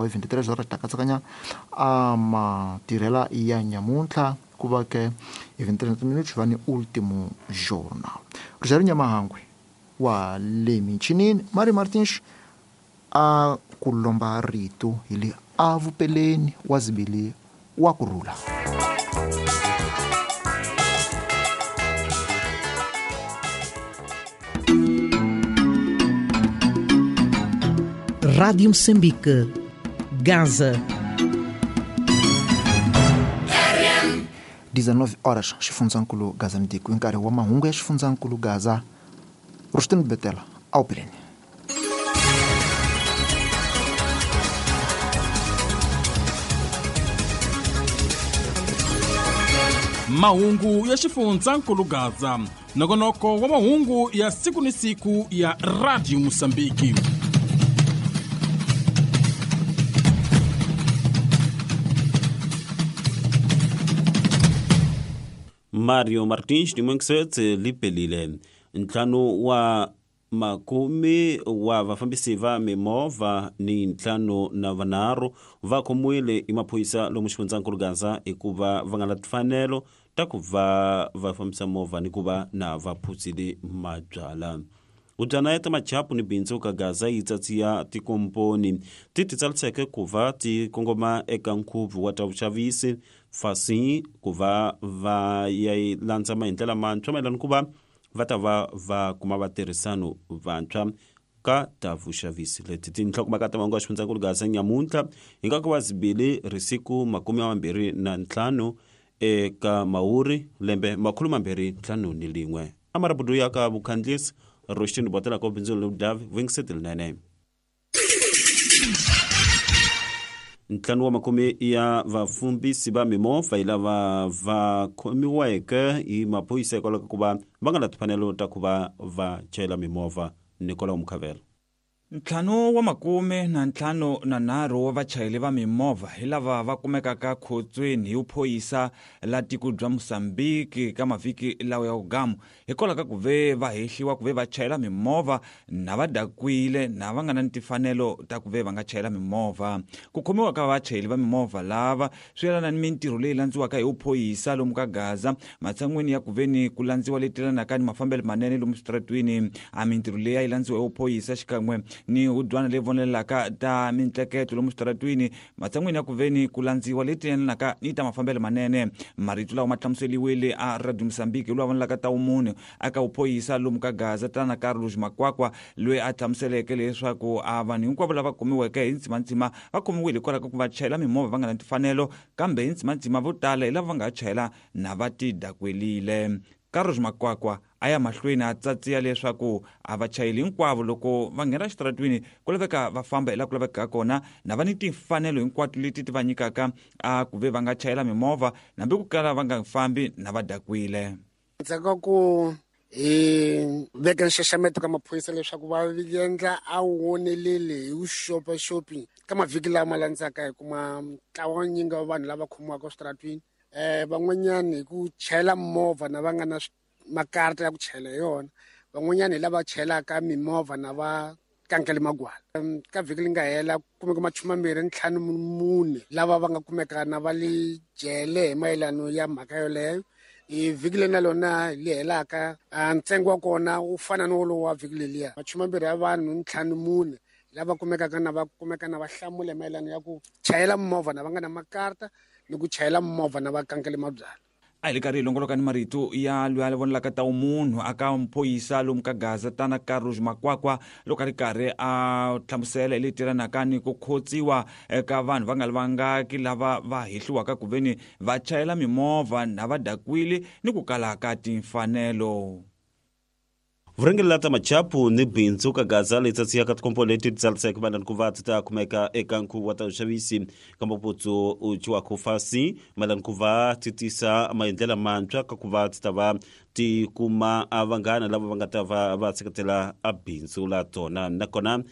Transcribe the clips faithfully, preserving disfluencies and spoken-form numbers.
veintitrés horas ta katsakanya a matirhela ya nyamuntlha ku va ke hi veintitrés minutos va ni último jornal. Rogério Nyamahangwe wa le minchinini Mari Martins a ku lomba rito hi le avupeleni wa zibili wa kurhula. Rádio Moçambique, Gaza. dezenove horas, xifundzankulu Gaza Mtiko, nkarhi wa mahungu ya xifundzankulu Gaza. Rustin Betela, awupeleni. Mahungu ya xifundzankulu Gaza, nongonoko wa mahungu ya siku ni siku ya Radio Moçambique. Mario Martins ni Mwengisetse lipelile ntlhanu wa makumi wa vafambisi va mimovha ni ntlhanu na vanharhu va khomiwile hi maphorisa lomu xifundzankulu Gaza hikuva va nga na timfanelo ta ku va va fambisa movha ni ku va na va phuzile mabyala. Hubyana ya ta machapu ni bindzu ka Gaza yi tsatsiya tikomponi ti ti tsariseke ku va ti kongoma eka nkhuvo wa ta vuxavisi fasi ku va va ya landza maendlelo mantshwa mayelana ku va va ta va va kuma vatirhisano vantshwa ka ta vuxavisi leti tinhlokomhaka ta mahungu ya xifundzankulu Gaza nyamuntlha hi nga ku va zibili risiku makume mambirhi na ntlhanu eka Mawuri lembe makhulu mambirhi ntlhanu ni lin'we. Amarabudu ya ka vukhandlisi Roshin Botela ko bindzu Ludav Wingset nene. Ntlhanu wa makume ya vafumbisi va mimovha hi lava va khomiweke hi maphorisa hikwalaho ka ku va va nga na timfanelo ta ku va va chayela mimovha. Nicolau Mukhavela. Ntlhanu wa makume na ntlhanu na nharhu wa vachayeri va mimovha hi lava va kumekaka khotsweni hi vuphorisa la tiko bya Mozambique ka mavhiki lawa ya vugamu hikwalaho ka ku ve va hehliwa ku ve va chayela mimovha na va dakwile na va nga na timfanelo ta ku ve va nga chayela mimovha. Ku khomiwa ka vachayeri va mimovha lava swi yelana ni mintirho leyi landziwaka hi vuphorisa lomu ka Gaza matshan'weni ya ku ve ni ku landziwa leti yelanaka ni mafambelo manene lomu switaratwini. A mintirho leyi a yi landziwa hi vuphorisa xikan'we ni hubyana leyi vonelelaka ta mintleketo lomu switaratwini matshan'wini ya ku veni ku landziwa leti yelanaka ni ta mafambelo manene. Marito lawa ma hlamuseliwile a Radio Mozambique loyi a vonelaka ta vumunhu aka vuphorisa lomu ka Gaza tana Carlos Makwakwa loyi a hlamuseleke leswaku a vanhu hinkwavo lava kumiweke hi ntsimantsima va khomiwile hikwalaho ka ku va chayela mimovha va nga na timfanelo kambe hi ntsimantsima vo tala hi lava va nga chayela na va ti dakwelile. Carlos Makwakwa a ya mahlweni a tsatsiya leswaku a vachayeri hinkwavo loko va nghena xitaratwini ku laveka va famba hi laha ku lavekaka kona na va ni timfanelo hinkwato leti ti va nyikaka a ku ve va nga chayela mimovha hambi ku kala va nga fambi na va dakwile. Ndzhaku ka ku hi veka nxaxameto ka maphorisa leswaku va endla a woneleli hi vuxopaxopi ka mavhiki lama landzaka hi kuma ntlawa wa nyingi wa vanhu lava khomiwaka eswitaratwini um van'wanyani hi ku chayela movha na va nga na makarata ya ku chayela hi yona, van'wanyani hi lava chayelaka mimovha na va kankele magwala. Ka vhiki leri nga hela ku kumeka machumu mambirhi ntlhanu mune lava va nga kumeka na va le jele hi mayelano ya mhaka yoleyo. Hi vhiki leri na lona li helaka ntsengo wa kona wu fana ni wolowo wa vhiki leliya, machumu mambirhi ya vanhu ntlhanu mune lava kumekaka na va kumeka na va hlamula hi mayelano ya ku chayela movha na va nga na makarata ni ku chayela movha na va kankele mabyala. A hi le karhi hi longoloka ni marito ya loyi a vonelaka ta vumunhu aka mphoyisa lomu ka Gaza tana Carlos Makwakwa loko a ri karhi a hlamusela hi leti yelanaka ni ku khotsiwa eka vanhu va nga lavangaki lava va hehliwaka ku veni va chayela mimovha na va dakwile ni ku kala ka timfanelo. Vurhangeri la ta machapu ni bindzu ka Gaza leyi tsatsiyaka tikomponi leti ti tsariseke mayelana ku va ti ta kumeka eka nkhuvo wa ta vuxavisi ka maputsu u ciwaka fasi mayelana ku va ti tisa maendlelo mantshwa ka ku va ti ta va ti kuma a vanghana lava va nga ta va va seketela a bindzu la tona. Nakona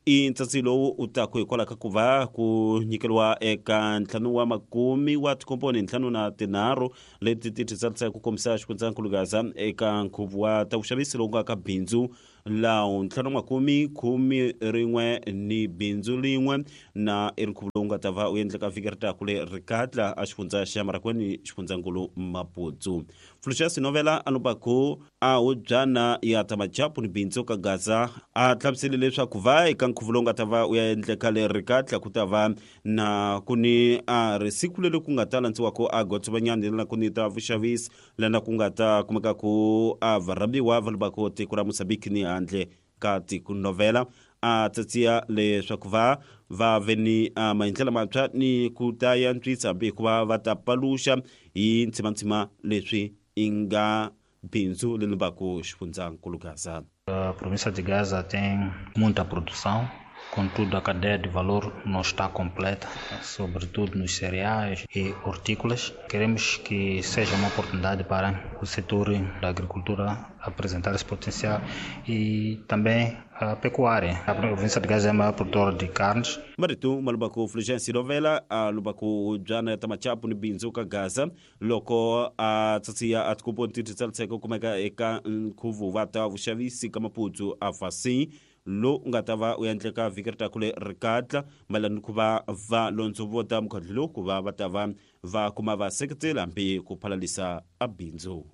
i ntsatsi lowu u taku hikwalaho ka ku va ku nyikeriwa eka ntlhanu wa makumi wa tikomponi ntlhanu na tinharhu leti ti titsarisaka ku kombisa xifundzankulu Gaza eka nkhuvo wa ta vuxavisi lowu nga ka bindzu Laho ntlhanu makume khume rin'we ni bindzu lin'we na i ri nkhuvo lowu nga ta va u endleka vhiki ri taku le Rikatla a xifundza xa Marakweni xifundzankulu Maputo. Fulgencio Novela a lubaku a hubyana ya ta machapu ni bindzu ka Gaza a hlamusele leswaku va eka nkhuvo lowu nga ta va u ya endleka le Rikatla ku ta va na ku ni a ri siku leri ku nga ta landziwako a gotsovanyani lana ku ni ta vuxavisi lana ku nga ta kumeka ku a varhambiwa va lubako tiko ra Mozambique ni handle ka tiko. Novela a tsatsiya leswaku va va ve ni maendlelo mantshwa ni ku ta yantswisa hambi hikuva va ta paluxa hi ntsimantsima leswi i nga bindzu leri lubaku xifundzankulu Gaza. A província de Gaza tem muita produção, contudo a cadeia de valor não está completa, sobretudo nos cereais e hortícolas. Queremos que seja uma oportunidade para o setor da agricultura apresentar esse potencial e também a pecuária. A província de Gaza é a maior produtora de carnes. Marito malubaku Fulgencio Novela a lubaku jana ta machapu ni bindzu ka Gaza loko a tsatsiya a tikupo ti tsaliseka kumeka eka nkhuvo wa ta vuxavisi ka Maputo a fasi lo nga ta va u endleka vhiki ri taku le Rikatla mayelana ku va va londzovota mukhandlu lowu ku va va ta va va kuma va seketela hambi ku phalalisa a bindzu.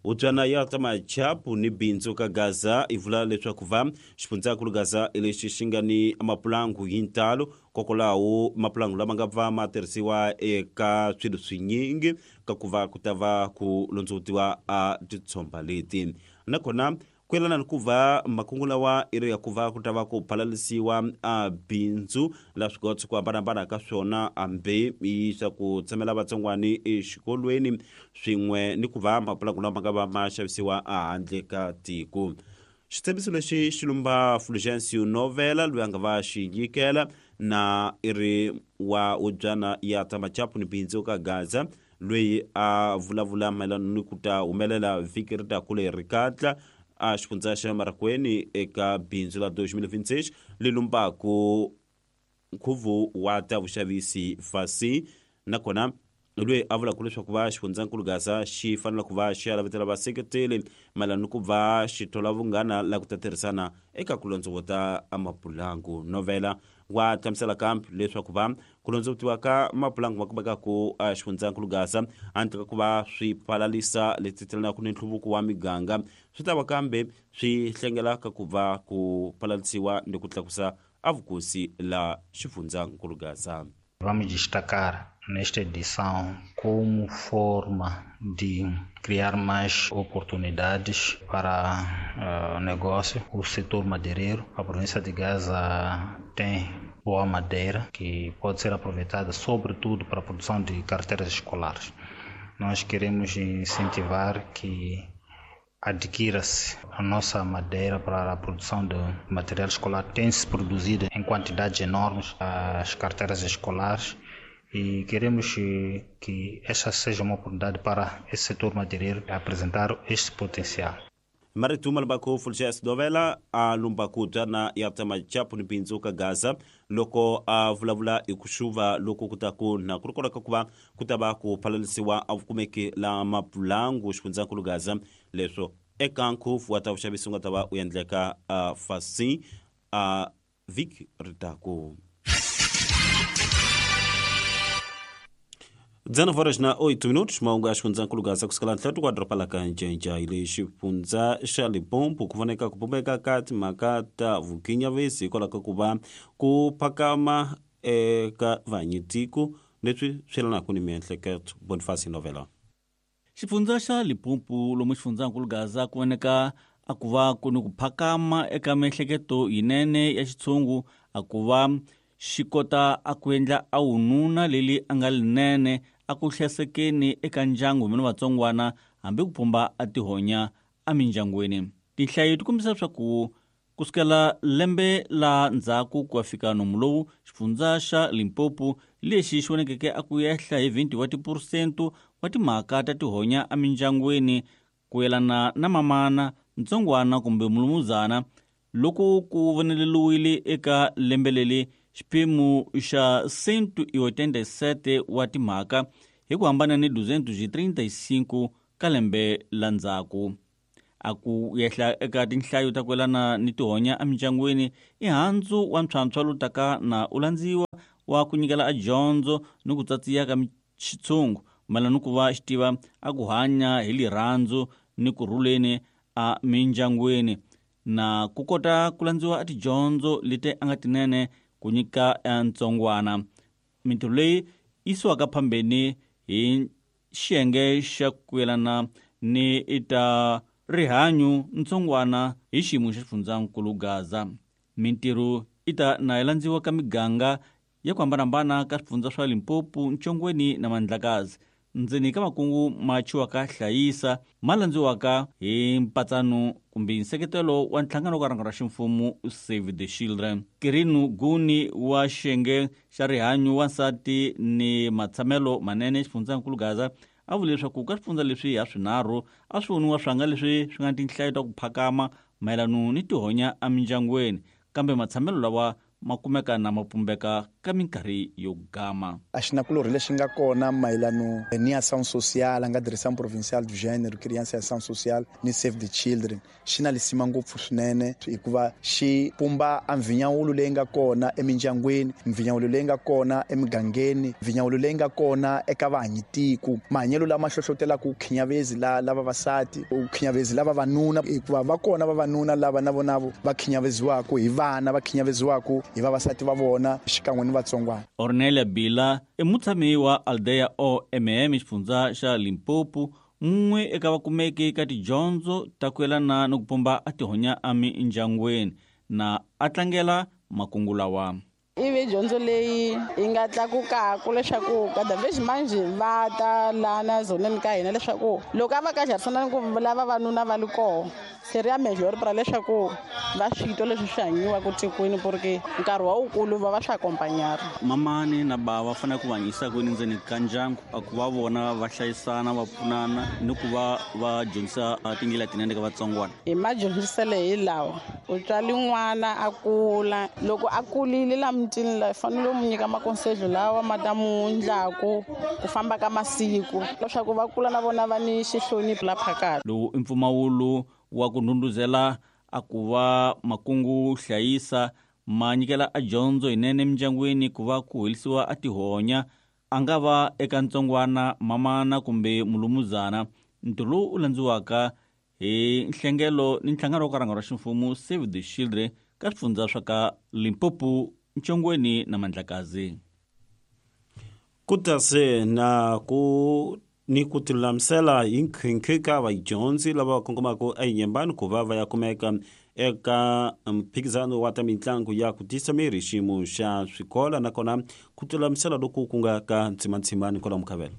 Utswana ya ta machapu ni bindzu ka Gaza i vula leswaku va xifundzankulu Gaza i lexi xi nga ni mapulangu hi ntalo kokolawo mapulangu lama nga va ma tirhisiwa eka swilo swinyingi ka ku va ku ta va ku londzovotiwa a titshomba leti nakona ku yelana ni ku va makungu lawa i ri ya ku va ku ta va ku phalalisiwa a bindzu la swigotso ku hambanahambana ka swona hambi i swa ku tsemela vatsongwani exikolweni swin'we ni ku va mapulangu lama nga va ma xavisiwa ehandle ka tiko. Xitshembiso lexi xi lumba Fulgencio Novela loyi a nga va xi nyikela na i ri wa ubyana ya ta machapu ni bindzu ka Gaza loyi a vulavula mayelana ni ku ta humelela vhiki ri taku le Rikatla a xifundza xa Marakweni eka bindzu la twenty twenty-six li lumbaku nkhuvo wa ta vuxavisi fasi nakona loyi a vulaka leswaku va xifundzankulu Gaza xi fanele ku va xi ya lavetela vaseketeli mayelana ni ku va xi thola vunghana la ku ta tirhisana eka ku londzovota mapulangu. Novela wa hlamusela kambe leswaku va ku londzovotiwa ka mapulangu ma kumeka ku xifundzankulu Gaza handle ka ku va swi palalisa leti telanaka ni nhluvuko wa miganga swi ta va kambe swi hlengela ka ku va ku palalisiwa ni ku tlakusa a vukosi la xifundzankulu Gaza. Vamos destacar nesta edição como forma de criar mais oportunidades para o uh, negócio, o setor madeireiro. A província de Gaza tem boa madeira que pode ser aproveitada sobretudo para a produção de carteiras escolares. Nós queremos incentivar que adquira-se a nossa madeira para a produção de material escolar. Tem-se produzido em quantidades enormes as carteiras escolares e queremos que essa seja uma oportunidade para esse setor madeireiro apresentar este potencial. Marito malubaku Fulgencio Novela a lumbaku tana ya ta machapu ni bindzu ka Gaza loko a vulavula hi ku xuva loko ku ta ku na ku ri kona ka ku va ku ta va ku phalalisiwa a vukumeki la mapulangu xifundzankulu Gaza leswo eka nkhuvo wa ta vuxavisi nga ta va u endleka a fasi a vhiki ri taku. dezenove horas na oito minutos, mahungu ya xifundzankulu Gaza kusukela ntlhatu kwa doroba la ka Ncencei le xifundza xa Limpopo ku voneka ku pumbeka ka timhaka ta vukinyavisi hikwalaho ka ku va ku phakama eka vanyitiko leswi swi yelanaka ni miehleketo. Boniface Novela. Xifundza xa Limpopo lomu xifundzankulu Gaza ku voneka a ku va ku ni ku phakama eka miehleketo yinene ya xitshungu a ku va xi kota a ku endla a wununa leli a nga linene a ku hlayisekeni eka ndyangu mina vatsongwana hambi ku pumba a tihonya emindyangwini. Tinhlayo ti kombisa leswaku kusukela lembe la ndzhaku ku ya fika nomu lowu xifundza xa Limpopo lexi xi vonekeke a ku ehla hi twenty wa tiphurusente wa timhaka ta tihonya emindyangwini ku yelana na mamana ntsongwana kumbe mulumuzana loko ku voneleliwile eka lembe leri xiphemu xa cento e oitenta e sete wa timhaka hi ku hambana ni duzentos e trinta e cinco ka lembe la ndzhaku. A ku yehla eka tinhlayo ta kwelana ni tihonya emindyangwini i handzu wa ntlhantlho lowu taka na u landziwa wa ku nyikela a dyondzo ni ku tsatsiya ka xitshungu mayelana ni ku va xi tiva a ku hanya hi lirhandzu ni ku rhuleni a mindyangwini na ku kota ku landziwa a tidyondzo leti a nga tinene ku nyika ntsongwana. Mintirho leyi yisiwaka phambeni hi xiyenge xa ku yelana ni ta rihanyu ntsongwana hi xiyimo xa xifundzankulu Gaza. Mintirho i ta na yi landziwa ka miganga ya ku hambanahambana ka swifundza swa Limpopo, Ntshongweni na Mandlakazi. Ndzeni ka makungu ma chiwaka hlayisa ma landziwaka hi mpatsano kumbe nseketelo wa nhlangano ka rhango ra ximfumo Save the Children. Kirinu Guni wa xiyenge xa rihanyu wansati ni matshamelo manene xifundzankulu Gaza a vule leswaku ka swifundza leswi ha swinharhu a swi voniwa swanga leswi swi nga tinhlayo ta ku phakama mayelana ni tihonya emindyangwini, kambe matshamelo lawa ma kumeka na ma pumbeka ka minkarhi yo gama. A xinakulorhi lexi nga kona mayelano ni ação social a nga Direção Provincial do Gênero, Criança e Ação Social ni Save the Children xi na lisima ngopfu swinene hikuva xi pumba a mvinyawulo leyi nga kona emindyangwini, mvinyawulo leyi nga kona emigangeni, mvinyawulo leyi nga kona eka vahanyitiko, mahanyelo lama hlohlotelaka ku khinyavezi la lava vavasati, ku khinyavezi lava vavanuna, hikuva va kona vavanuna lava na vona va khinyaveziwaka hi vana, va khinyaveziwaka hi vavasati va vona xikan'we ni vatsongwana. Ornelia Bila i mutshami wa Aldeia O M M xifundza xa Limpopo, mun'we eka vakumeki ka tidyondzo ta ku yelana ni ku pumba a tihonya emindyangwini na a tlangela makungu lawa. Ivi dyondzo leyi yi nga tlakukaka leswaku kada vez manje va ta lana zoneni ka hina leswaku loko a va ka xarisana ni ku lava vavanuna va li koho seria melhor para leswaku va swi twa leswi swi hanyiwaka tikweni porque nkarhi wa wukulu va va swi acompanhar. Mamani na bava va fanele ku va hanyisa kwini ndzeni ka ndyangu a ku va vona va hlayisana va pfunana ni ku va va dyondzisa tindlela tinene ka vatsongwana. Hi madyondziselo hi lawa u tswali n'wana a kula loko a kulile la mutini la fanele u mu nyika makonselho lawa ma ta mu ndlaku ku famba ka masiku leswaku va kula na vona va ni xihlonipho la phakati. Lowu i mpfumawulo wa ku ndhundhuzela a ku va makungu hlayisa ma nyikela a dyondzo yinene emindyangwini ku va ku helisiwa a tihonya a nga va eka ntsongwana mamana kumbe mulumuzana. Ntirho lowu u landziwaka hi nhlengelo ni nhlangano wa ka rhango ra ximfumo Save the Children ka swifundza swa ka Limpopo, Ntshongweni na Mandlakazi. Kutase na ku ni ku tilulamisela hi nkhinkhi ka vadyondzi lava kongomaka enyembani ku va va ya kumeka eka mphikizano wa ta mitlangu ya ku tisa miri xiyimo xa swikolo, nakona ku tilulamisela loku ku nga ka ntsimanitsimani kwala Mukhavela.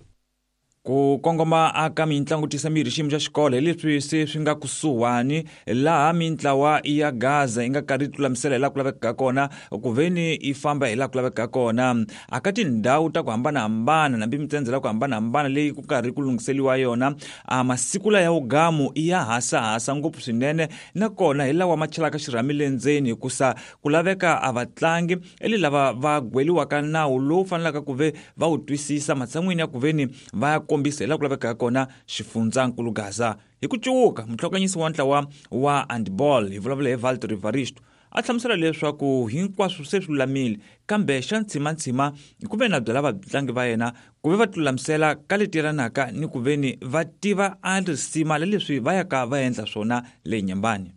Ku kongoma aka mintlangu tisa miri xiyimo xa xikolo hi leswi se swi nga kusuhani laha mintlawa ya Gaza yi nga karhi tilulamisela hi laha ku lavekaka kona ku veni yi famba hi laha ku lavekaka kona aka tindhawu ta ku hambanahambana nambi mitsendzela ya ku hambanahambana leyi ku karhi ku lunghiseliwa yona. A masiku la ya wugamu i ya hasahasa ngopfu swinene nakona hi lawa ma chelaka xirhami le ndzeni hikusa ku laveka a vatlangi eli lava va gweliwaka nawu lowu fanelaka ku ve va wu twisisa matshan'wini ya ku veni va ya kombisa hi laha ku lavekaka kona xifundzankulu Gaza. Hi ku cuwuka muhlokanyisi wa ntlawa wa handball hi vulavula hi Valtteri Varisto a hlamusela leswaku hinkwaswo se swi lulamile kambe xa ntsimantsima ku ve na byela vatlangi va yena ku ve va tilulamisela ka leti yelanaka ni ku veni va tiva a risima leswi va yaka va endla swona le nyembani.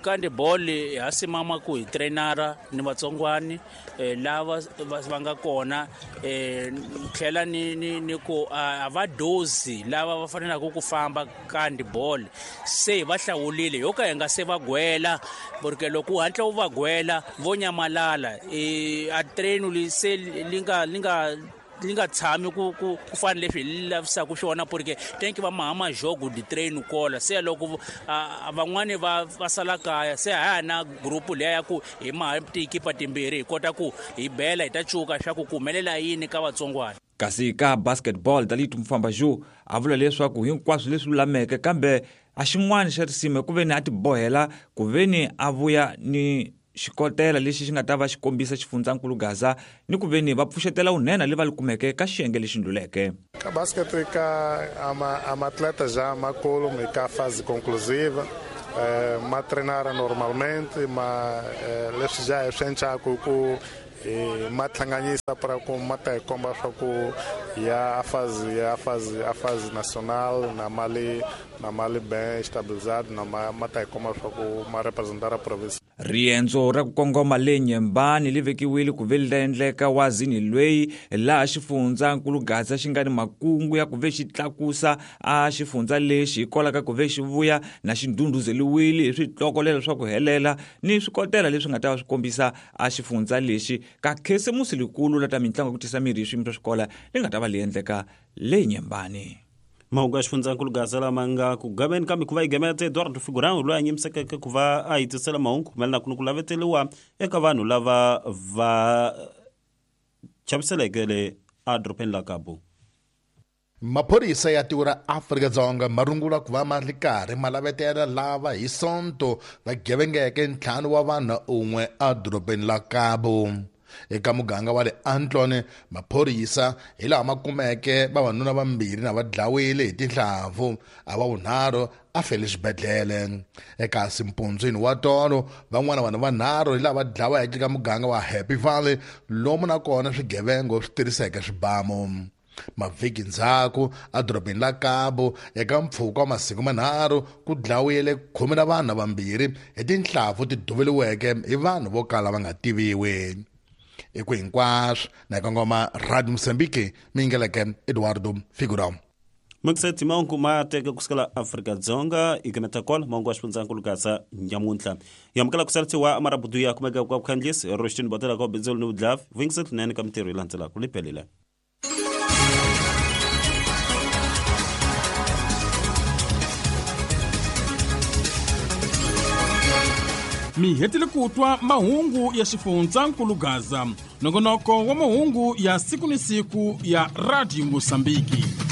Kandi boli ha simama ku hi trainara ni vatsongwani lava va nga kona tlhela ni ni ni ku a va dozi lava va fanelaka ku famba kandi boli se va hlawulile yo ka hi nga se va gwela porque loko u hatla u va gwela vo nyamalala a train li se li nga li nga li nga tshami ku ku ku fana leswi hi lavisaka swona porque tenki va mahama jogo di train kola se loko van'wani va va sala kaya se ha na group leya ya ku hi maha tikipa timbirhi hi kota ku hi bela hi ta cuka swa ku ku humelela yini ka vatsongwana. Kasi ka basketball Dalitu Mfambaju a vula leswaku hinkwaswo leswi lulameke kambe a xin'wana xa risima ku veni a tibohela ku veni a vuya ni xikotela lexi xi nga ta va xi kombisa xifundzankulu Gaza ni ku veni va pfuxetela unene le va li kumeke ka xiyenge lexi ndluleke. Ka basket ka ama ama atleta já makolo me ka fase conclusiva eh, ma treinara normalmente ma eh, leswi já é swi ku e ma tlhanganyisa para ku ma ta hi komba swa ku ya a fase ya fase a fase nacional na mali na mali bem estabilizado na ma, ma ta hi komba swa ku ma representar a província. Riendzo ra ku kongoma le Nyembani li vekiwile ku ve li endleka wazini lweyi laha xifundzankulu Gaza xi nga ni makungu ya ku ve xi tlakusa a xifundza lexi hikwalaho ka ku ve xi vuya na xi ndhundhuzeliwile hi switlokolelo swa ku helela ni swikotela leswi nga ta va swi kombisa a xifundza lexi ka khisimusi likulu la ta mitlangu ya ku tisa mirhi hi swiyimo swa xikola li nga ta va li endleka le Nyembani. Mahungu ya xifundzankulu Gaza lama nga ku gameni ka mikhuva yi gamela Eduardo Figurão loyi a nyimisekeke ku va a hitisela mahungu mayelana ku ni ku laveteliwa eka vanhu lava va chaviseleke le edorobeni la Cabo. Maphorisa ya tiko ra Afrika-Dzonga ma rungula ku va ma ri karhi ma lavetela lava hi Sonto va gevengeke ntlhanu wa vanhu un'we edorobeni la Cabo. Eka muganga wa le Antlone, maphorisa hi laha ma kumeke vavanuna vambirhi na va dlawile hi tinhlampfu, a va vunharhu a fele xibedhlele. Eka mpundzwini wa tolo, van'wana vanhu vanharhu hi lava dlaweke eka muganga wa Happy Valley, lomu na kona swigevengo swi tirhiseke swibamu. Mavhiki ndzhaku edorobeni la Cabo, eka mpfhuka wa masiku manharhu ku dlawile khume na vanhu vambirhi hi tinhlampfu ti duvuriweke hi vanhu vo kala va nga tiviwi. Eku hinkwaswo na kongoma Radio Mozambique mingeleke Eduardo Figurão. Mukiseti mahungu ma teka kusukela Afrika-Dzonga ikameta kwala mahungu ya xifundzankulu Gaza nyamuntlha. Yamukela ku salisiwa marabudu ya kumeka kwa kukhandlisi Roshtin Botela kwa Benzolo ni Udlav vingiset nene ka mitirho yi landzelaka liphelile. Mi hetile ku twa mahungu ya xifundzankulu Gaza, nongonoko wa mahungu ya siku ni siku ya Radio Mozambique.